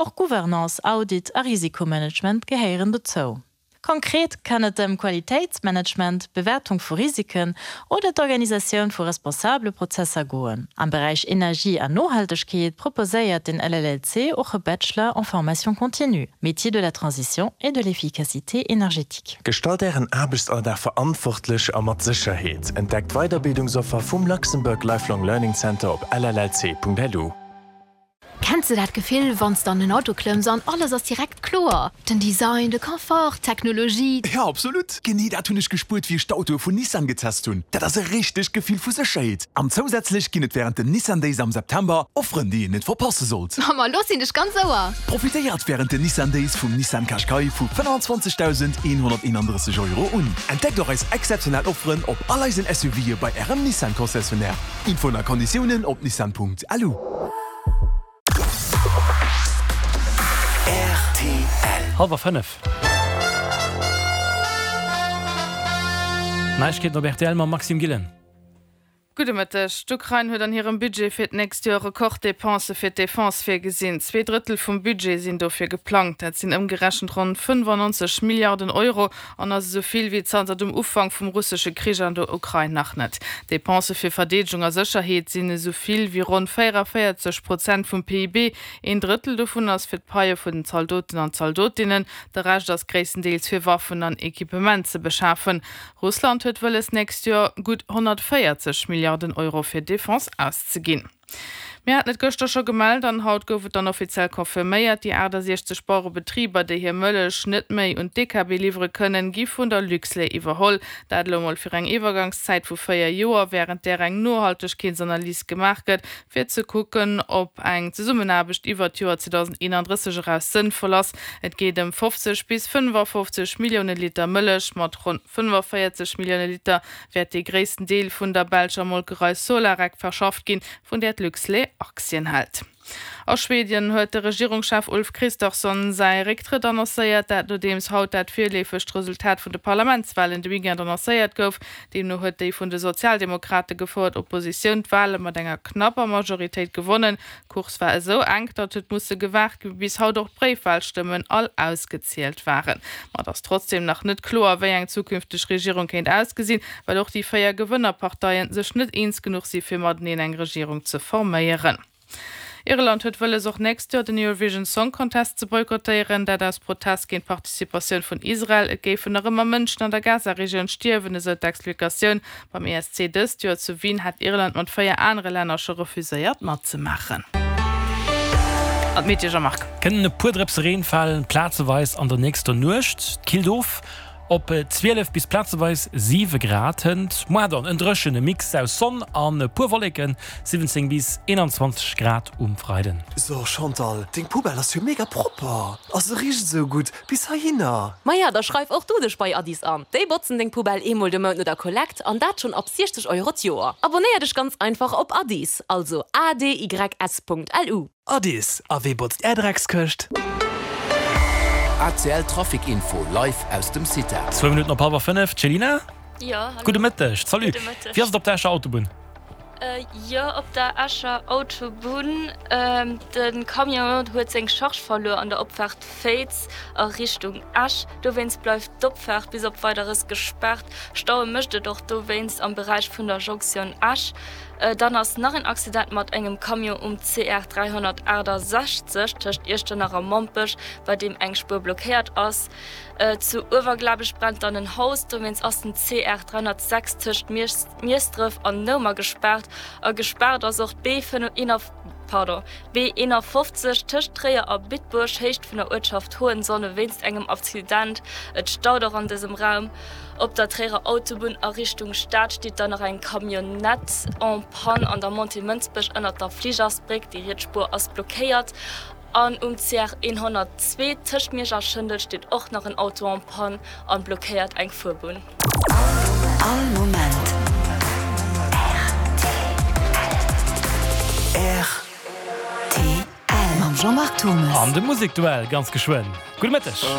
Och Gouvernance, Audit a Risikomanagement gehéieren dozou. Konkret kann et ëm Qualitéitsmanagement, Bewäertung vu Risiken oder d'Organisatioun vu responsabele Prozesser goen. Am Beräich Energie an Nohaltegkeet proposéiert den LLLC och e Bachelor en formation continue, Métiers de la transition et de l'efficacité énergétique. Gestalt Ären Aarbechtsalldag verantwortlech a mat Sécherheet. Entdeckt d'Weiderbildungsoffer vum Luxembourg Lifelong Learning Center op llc.lu. Kenns de dat Gefill, wann s de an en Auto klëmms an alles ass direkt kloer? Den Design, de Confort, d'Technologie. Jo, absolut! Genee dat hunn ech gespuert, wéi ech d'Autoe vun Nissan getest hunn. Dat ass e richtegt Gefill vu Sécherheet. An zousätzlech ginn et wärend den Nissan Days am September Offeren, déi een net verpasse sollt. Ma lo sinn ech ganz Ouer! Profitéiert wärend den Nissan Days vum Nissan Qashqai vu 25.131 Euro un. Entdeckt och eis exzeptionell Offeren op all eisen SUVe bei Ärem Nissan Concessionnaire. Infoen a Konditiounen op nissan.lu. Rtl. Hallwer 5. Neiegkeeten op rtl mam Maxime Gillen. Gudde Mëtteg. D'Ukrain huet an hirem Budget fir d'nächst Joer Rekorddepensë fir d'Defense virgesinn. Zweedrëttel vum Budget sinn dofir geplangt. Dat sinn ëmgerechent ronn 95 Milliarden Euro an ass esou vill wéi zanter dem Ufank vum russesche Krich an der Ukrain nach net. D'Depensë fir Verdeedegung a Sécherheet sinn esou vill wéi ronn 44 Prozent vum PIB. Een Drëttel dovun ass fir d'Paie vun den Zaldoten an Zaldotinnen, de Rescht ass gréisstendeels fir Waffen an Equipement ze beschafen. Russland huet wëlles, d'nächst Joer gutt 140 Milliarden Euro fir Defense auszeginn. Mir haten et gëschter scho gemellt an haut gouf et dann offiziell confirméiert, Déi 68 Bauerebetriber, déi hir Mëllech net méi un d'DKB liwwere kënnen, gi vun der Luxlait iwwerholl. Dat elo mol fir eng Iwwergangszäit vu 4 Joer, wärend där eng Nohaltegkeetsanalys gemaach gëtt, fir ze kucken, ob eng Zesummenaarbecht iwwert d'Joer 2031 eraus sënnvoll ass. Et geet ëm 50 bis 55 Millioune Liter Mëllech. Mat ronn 45 Millioune Liter wäert dee gréissten Deel vun der belscher Molkerei Solarec verschafft ginn, vun där d'Luxlait Aktien hält. A Schwedien huet de Regierungschef Ulf Kristersson säi Récktrëtt annoncéiert, dat nodeems haut dat virleefegt Resultat vun de Parlamentswalen de Weekend annoncéiert gouf. Deemno huet déi vun de Sozialdemokrate gefouert Oppositioun d'Wale mat enger knapper Majoritéit gewonnen. D'Course war esou enk, datt huet musse gewaart gi bis haut och d'Bréifwalstëmmen all ausgezielt waren. Ma et ass trotzdeem nach net kloer, wéi eng zukünfteg Regierung kéint ausgesinn, well och déi 4 Gewënnerparteien sech net eens genuch si fir mateneen eng Regierung ze forméieren. Irland huet wëlles och nächst Joer den Eurovision Song Contest ze boykottéieren, dat aus Protest géint d'Participatioun vun Israel. Et géifen nach ëmmer Mënschen an der Gaza-Regioun stierwen, esou d'Explikatioun. Beim ESC dëst Joer zu Wien hat Irland mat 4 anere Länner scho refuséiert matzemaachen. An d'Meteo, Jean-Marc. Kënnen e puer Drëpse Reen falen, plazeweis an der nächster Nuecht. Killt of op 12 bis plazeweis 7 Grad. Hënt muar dann en dréchene Mix aus Sonn an e puer Wolleken, 17 bis 21 Grad um Freiden. So Chantal, deng Poubelle ass jo mega propper a se richt esou gutt bis heihinner. Maja, da schreif och du dech bei Addis an. Déi botzen deng Poubelle eemol de Mount no der Kollekt an dat schonn ab 60 Euro d'Joer. Abonnéier dech ganz einfach op Addis, also adys.lu. Addis, a wee botzt är Dreckskëscht? ACL Trafic Info live aus dem CITA. Zwou Minutten op hallwer 5, Céline? Jo, hallo. Gudde Mëtteg, salut. Gudde Mëtteg. Wéi ass et op der Escher Autobunn? Jo, op der Escher Autobunn. De Camion huet seng Charge verluer an der Opfaart Féiz a Richtung Esch. Dowéinst bleift d'Opfaart bis op Weideres gespaart. Staue mécht et och dowéinst am Beräich vun der Jonktioun Esch. Dann ass nach en Accident mat engem Camion um CR 368 tëscht Iechternach a Mompech, bei deem eng Spuer blockéiert ass. Zu Uewerglabech brennt dann en Haus, dowéinst ass den CR 306 tëscht Miesdref an Noumer gespaart. A gespaart ass och d'B51 tëscht Tréier a Bitburg, Héicht vun der Uertschaft Hohenzonne wéinst engem Accident. Et staut och an dësem Raum. Op der Tréierer Autobunn a Richtung Stad steet dann nach eng Camionnette en panne an der Montée Mënsbech ënnert der Fligersbréck. Déi riets Spuer ass blockéiert. An um CR 102 tëscht Miersch a Schëndel steet och nach en Auto en panne an blockéiert eng Fuerbunn. All Moment rtl. Mam Jean-Marc Thomes. An de Musekduell ganz geschwënn. Gudde Mëtteg.